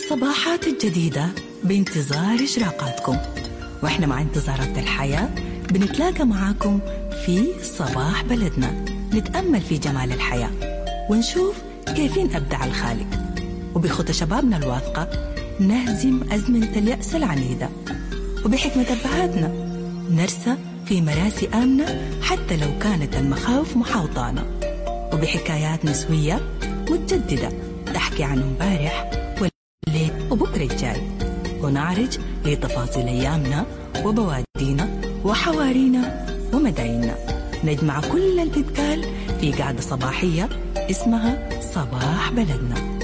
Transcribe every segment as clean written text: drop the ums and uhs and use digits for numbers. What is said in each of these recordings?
الصباحات الجديدة بانتظار إشراقاتكم، وإحنا مع انتظارات الحياة بنتلاقى معاكم في صباح بلدنا، نتأمل في جمال الحياة ونشوف كيفين أبدع الخالق، وبخطى شبابنا الواثقة نهزم أزمنة اليأس العنيدة، وبحكمة أبهاتنا نرسى في مراسي آمنة حتى لو كانت المخاوف محاوطانا، وبحكايات نسوية متجددة تحكي عن امبارح والليل وبكرة الجاي، ونعرج لتفاصيل أيامنا وبوادينا وحوارينا ومدايننا. نجمع كل اللي بيتقال في قعدة صباحية اسمها صباح بلدنا.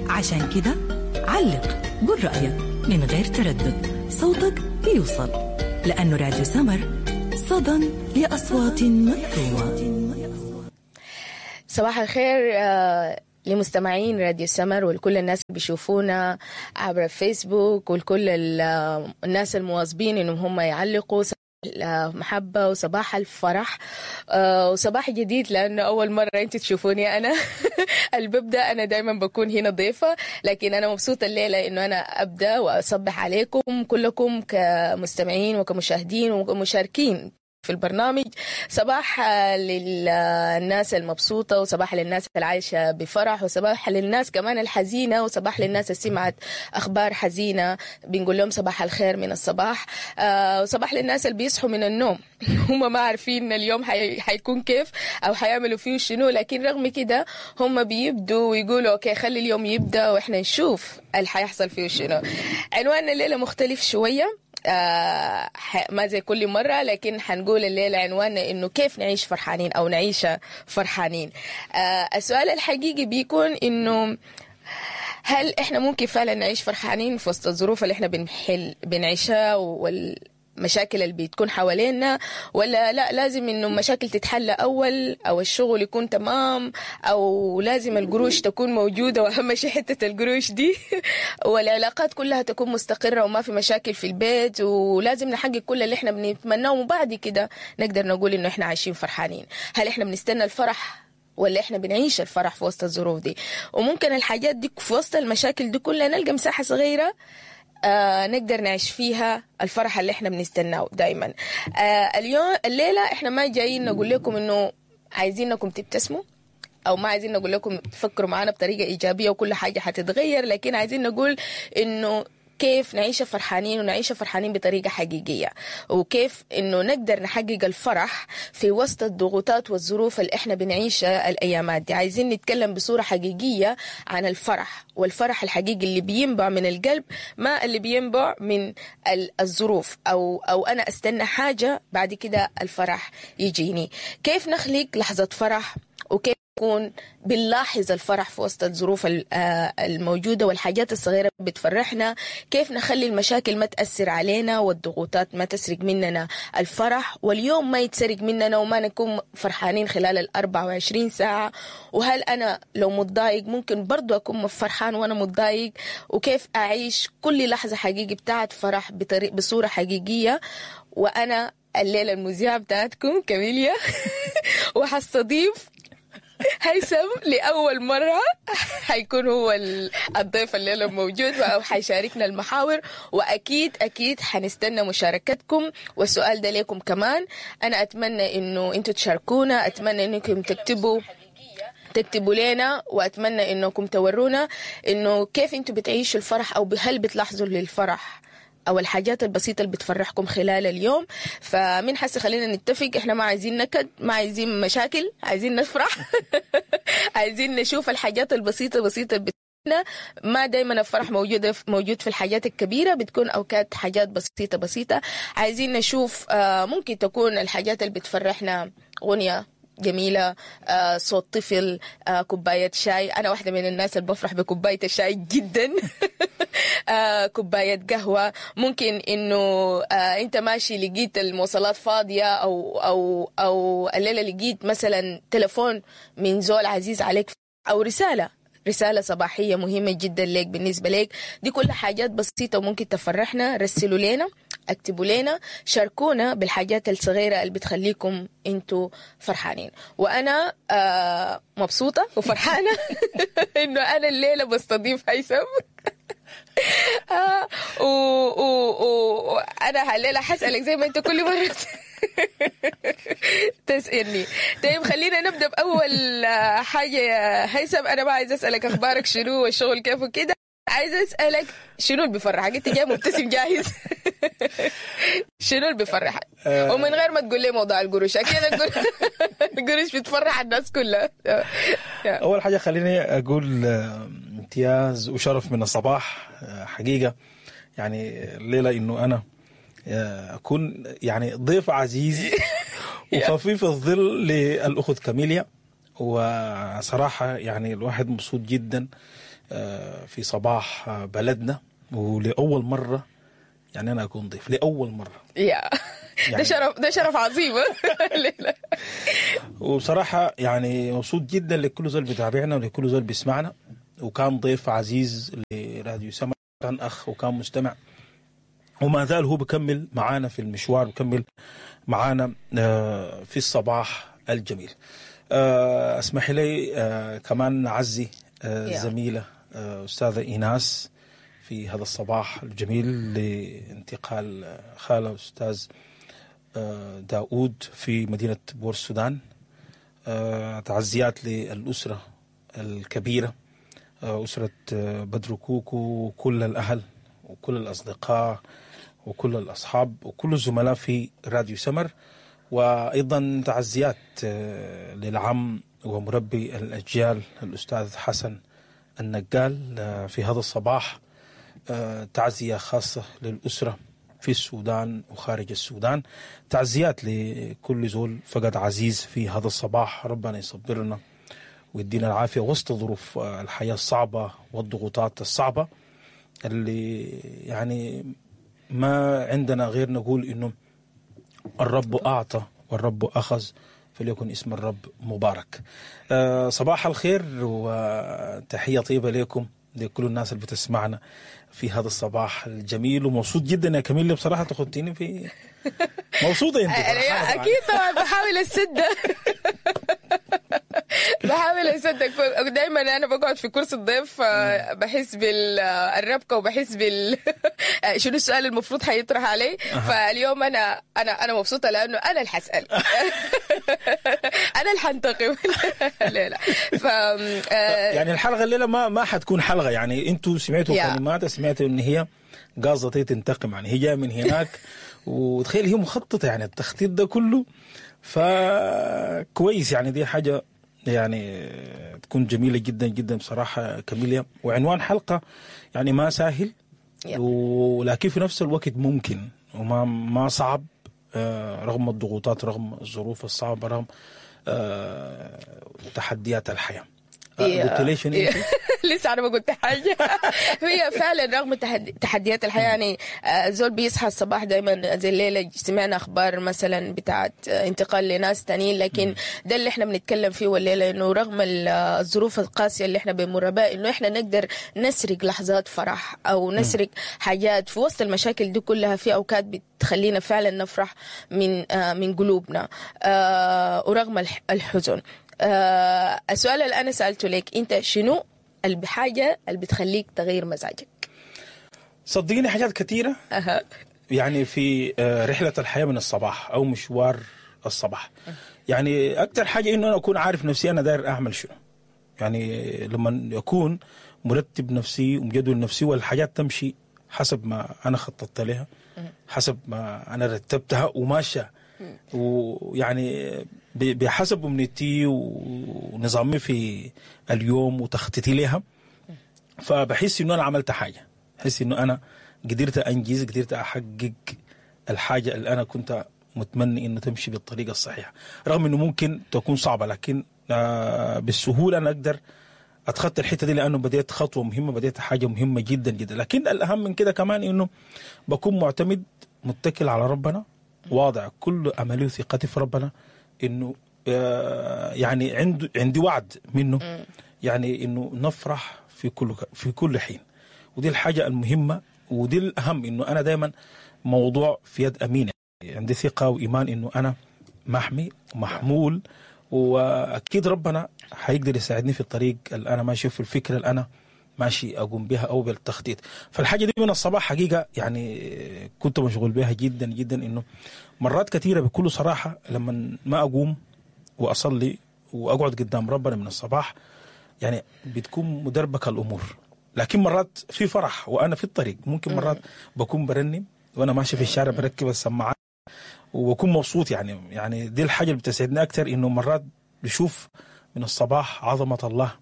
عشان كده علق، قول رأيك من غير تردد، صوتك بيوصل، لأنه راديو سمر صدى لأصوات مكتومة. صباح الخير لمستمعين راديو سمر ولكل الناس اللي بيشوفونا عبر الفيسبوك ولكل الناس المواظبين انهم هم يعلقوا. المحبة وصباح الفرح وصباح جديد، لأنه أول مرة أنتوا تشوفوني أنا اللي ببدأ. أنا دايما بكون هنا ضيفة، لكن أنا مبسوطة الليلة إنه أنا أبدأ وأصبح عليكم كلكم كمستمعين وكمشاهدين ومشاركين في البرنامج. صباح للناس المبسوطة، وصباح للناس العايشة بفرح، وصباح للناس كمان الحزينة، وصباح للناس اللي سمعت أخبار حزينة، بنقول لهم صباح الخير من الصباح. وصباح للناس اللي بيصحوا من النوم هم ما عارفين اليوم حيكون كيف أو حيعملوا فيه شنو، لكن رغم كده هم بيبدوا ويقولوا okay خلي اليوم يبدأ وإحنا نشوف اللي حيحصل فيه شنو. عنواننا الليلة مختلف شوية، ما زي كل مرة، لكن حنقول الليلة عنواننا إنه كيف نعيش فرحانين أو نعيش فرحانين. السؤال الحقيقي بيكون إنه هل إحنا ممكن فعلا نعيش فرحانين في وسط الظروف اللي إحنا بنعيشها والمشاكل اللي بتكون حوالينا، ولا لا لازم إنه المشاكل تتحل أول، أو الشغل يكون تمام، أو لازم القروش تكون موجودة، وأهم شيء حتة القروش دي والعلاقات كلها تكون مستقرة وما في مشاكل في البيت، ولازم نحقق كل اللي إحنا بنتمناه، وبعد كده نقدر نقول إنه إحنا عايشين فرحانين. هل إحنا بنستنى الفرح ولا إحنا بنعيش الفرح في وسط الظروف دي؟ وممكن الحاجات دي في وسط المشاكل دي كلها نلقى مساحة صغيرة نقدر نعيش فيها الفرح اللي احنا بنستناه دايما. اليوم الليلة احنا ما جايين نقول لكم انه عايزينكم تبتسموا، او ما عايزين نقول لكم تفكروا معانا بطريقة ايجابية وكل حاجة حتتغير، لكن عايزين نقول انه كيف نعيش فرحانين، ونعيش فرحانين بطريقة حقيقية، وكيف إنه نقدر نحقق الفرح في وسط الضغوطات والظروف اللي إحنا بنعيشها الأيامات دي. عايزين نتكلم بصورة حقيقية عن الفرح، والفرح الحقيقي اللي بينبع من القلب، ما اللي بينبع من الظروف أو أنا أستنى حاجة بعد كده الفرح يجيني. كيف نخلق لحظة فرح، وكيف يكون بنلاحظ الفرح في وسط الظروف الموجودة والحاجات الصغيرة بتفرحنا. كيف نخلي المشاكل ما تأثر علينا والضغوطات ما تسرق مننا الفرح، واليوم ما يتسرق مننا وما نكون فرحانين خلال 24 ساعة. وهل أنا لو متضايق ممكن برضو أكون فرحان وأنا متضايق؟ وكيف أعيش كل لحظة حقيقي بتاعت فرح بصورة حقيقية؟ وأنا الليلة المذيعة بتاعتكم كاميليا وحستضيف هيثم لأول مرة، حيكون هو الضيف الليلة موجود وحيشاركنا المحاور، وأكيد أكيد حنستنى مشاركتكم. والسؤال ده لكم كمان، أنا أتمنى إنه أنتوا تشاركونا، أتمنى إنكم تكتبوا لنا، وأتمنى إنكم تورونا إنه كيف أنتوا بتعيشوا الفرح، أو هل بتلاحظوا للفرح أو الحاجات البسيطة اللي بتفرحكم خلال اليوم. فمن حس خلينا نتفق، إحنا ما عايزين نكد، ما عايزين مشاكل، عايزين نفرح عايزين نشوف الحاجات البسيطة بسيطة بتنا. ما دايما الفرح موجود في الحاجات الكبيرة، بتكون أوقات حاجات بسيطة بسيطة. عايزين نشوف ممكن تكون الحاجات اللي بتفرحنا غنية جميلة، صوت طفل، كوباية شاي. أنا واحدة من الناس اللي بفرح بكوباية الشاي جدا كوباية قهوة. ممكن إنه أنت ماشي لقيت المواصلات فاضية، أو أو أو الليلة لقيت مثلا تلفون من زول عزيز عليك، أو رسالة صباحية مهمة جدا لك بالنسبة لك. دي كل حاجات بسيطة وممكن تفرحنا. رسلوا لنا، اكتبوا لنا، شاركونا بالحاجات الصغيرة اللي بتخليكم انتوا فرحانين. وانا مبسوطة وفرحانة انه انا الليلة بستضيف هيثم. وانا الليلة حسألك زي ما انت كل مرة تسألني. طيب خلينا نبدا باول حاجة يا هيثم. انا ما عايز اسالك اخبارك شنو والشغل كيف وكده، عايز اسالك شنو اللي بيفرحك؟ انت جاي مبتسم جاهز. شنو اللي بيفرحك؟ ومن غير ما تقول لي موضوع القروش، اكيد القروش بتفرح الناس كلها. اول حاجة خليني اقول امتياز وشرف من الصباح حقيقة، يعني الليلة انه انا اكون يعني ضيف عزيز وخفيف الظل للاخت كاميليا، وصراحة يعني الواحد مبسوط جدا في صباح بلدنا، ولاول مرة يعني انا اكون ضيف لاول مرة. يا يعني ده شرف، ده شرف عظيم. وبصراحة يعني مبسوط جدا لكل زول بيتابعنا ولكل زول بيسمعنا، وكان ضيف عزيز لراديو سما، كان اخ وكان مستمع، وما زال هو بكمل معانا في المشوار، بكمل معانا في الصباح الجميل. اسمح لي كمان نعزي الزميلة استاذه ايناس في هذا الصباح الجميل لانتقال خاله استاذ داود في مدينة بور السودان. تعزيات للاسرة الكبيرة، اسره بدر كوكو وكل الاهل وكل الاصدقاء وكل الاصحاب وكل الزملاء في راديو سمر، وايضا تعزيات للعم ومربي الاجيال الاستاذ حسن النقال في هذا الصباح. تعزية خاصة للأسرة في السودان وخارج السودان، تعزيات لكل زول فقد عزيز في هذا الصباح. ربنا يصبرنا ويدينا العافية وسط ظروف الحياة الصعبة والضغوطات الصعبة اللي يعني ما عندنا غير نقول إنه الرب أعطى والرب أخذ، فليكن اسم الرب مبارك. صباح الخير وتحية طيبة لكم لكل الناس اللي بتسمعنا في هذا الصباح الجميل. ومبسوط جدا يا كميل بصراحة، تخدتيني في مبسوطة انت. اكيد طبعا بحاول اسد، بحاول اسدك دايما. انا بقعد في كرسي الضيف بحس بالربكه وبحس بال شنو السؤال المفروض حيطرح علي. فاليوم انا انا انا مبسوطة لانه انا اللي حسال، انا اللي حنتقم. لا لا، ف يعني الحلقة الليلة ما حتكون حلقة، يعني انتوا سمعتوا كلمات، سمعتوا ان هي قاصده تنتقم، يعني هي جاية من هناك وتخيل هي مخططه، يعني التخطيط ده كله، فكويس يعني دي حاجة يعني تكون جميلة جدا جدا بصراحة كاميليا. وعنوان حلقة يعني ما سهل، ولكن في نفس الوقت ممكن وما ما صعب، رغم الضغوطات، رغم الظروف الصعبة، رغم تحديات الحياة. قلت ليش انت؟ لسه انا ما قلت حاجة. هي فعلا رغم تحديات الحياة، يعني الزول بيصحى الصباح دايما زي الليلة سمعنا اخبار مثلا بتاعت انتقال لناس تانيين، لكن ده اللي احنا بنتكلم فيه والليلة، انه رغم الظروف القاسية اللي احنا بنمر بها، انه احنا نقدر نسرق لحظات فرح او نسرق حاجات في وسط المشاكل دي كلها. في اوقات بتخلينا فعلا نفرح من قلوبنا ورغم الحزن. السؤال اللي أنا سألته لك أنت، شنو الحاجة اللي بتخليك تغير مزاجك؟ صدقيني حاجات كثيرة. يعني في رحلة الحياة من الصباح أو مشوار الصباح، يعني أكثر حاجة إنه أنا أكون عارف نفسي أنا داير أعمل شنو. يعني لما أكون مرتب نفسي ومجدول نفسي والحاجات تمشي حسب ما أنا خططت لها، حسب ما أنا رتبتها وماشية، ويعني بحسب امنيتي ونظامي في اليوم وتخطيطي لها، فبحس انه انا عملت حاجة، بحس انه انا قدرت انجز، قدرت احقق الحاجة اللي انا كنت متمني انه تمشي بالطريقة الصحيحة، رغم انه ممكن تكون صعبة، لكن بالسهولة انا اقدر اتخطى الحتة دي، لانه بديت خطوة مهمة، بديت حاجة مهمة جدا جدا. لكن الاهم من كده كمان انه بكون معتمد متكل على ربنا، واضع كل املي وثقتي في ربنا، انه يعني عندي وعد منه، يعني انه نفرح في كل حين. ودي الحاجة المهمة ودي الاهم، انه انا دائما موضوع في يد امينه، عندي ثقة وايمان انه انا محمي ومحمول، واكيد ربنا حيقدر يساعدني في الطريق اللي انا ماشي، في الفكرة اللي انا ماشي اقوم بها او بالتخطيط. فالحاجه دي من الصباح حقيقة يعني كنت مشغول بها جدا جدا، انه مرات كثيرة بكل صراحة لما ما اقوم واصلي واقعد قدام ربنا من الصباح يعني بتكون مدربكه الامور. لكن مرات في فرح وانا في الطريق، ممكن مرات بكون برنم وانا ماشي في الشارع، بركب السماعات وبكون مبسوط. يعني دي الحاجة اللي بتسعدني اكثر، انه مرات بشوف من الصباح عظمه الله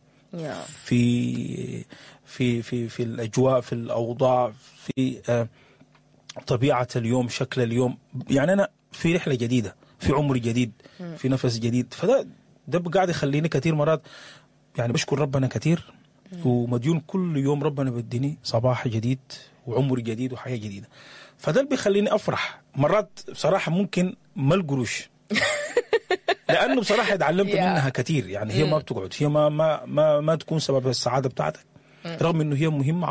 في في في في الاجواء، في الاوضاع، في طبيعة اليوم، شكل اليوم. يعني انا في رحله جديده، في عمر جديد، في نفس جديد. فده قاعد يخليني كثير مرات يعني بشكر ربنا كثير ومديون كل يوم ربنا بديني صباح جديد وعمر جديد وحياه جديدة. فده اللي بيخليني افرح مرات بصراحه. ممكن ما القروش، لانه بصراحة اتعلمت منها كثير. يعني هي ما بتقعد، هي ما ما ما, ما تكون سبب السعادة بتاعتك، رغم انه هي مهمة.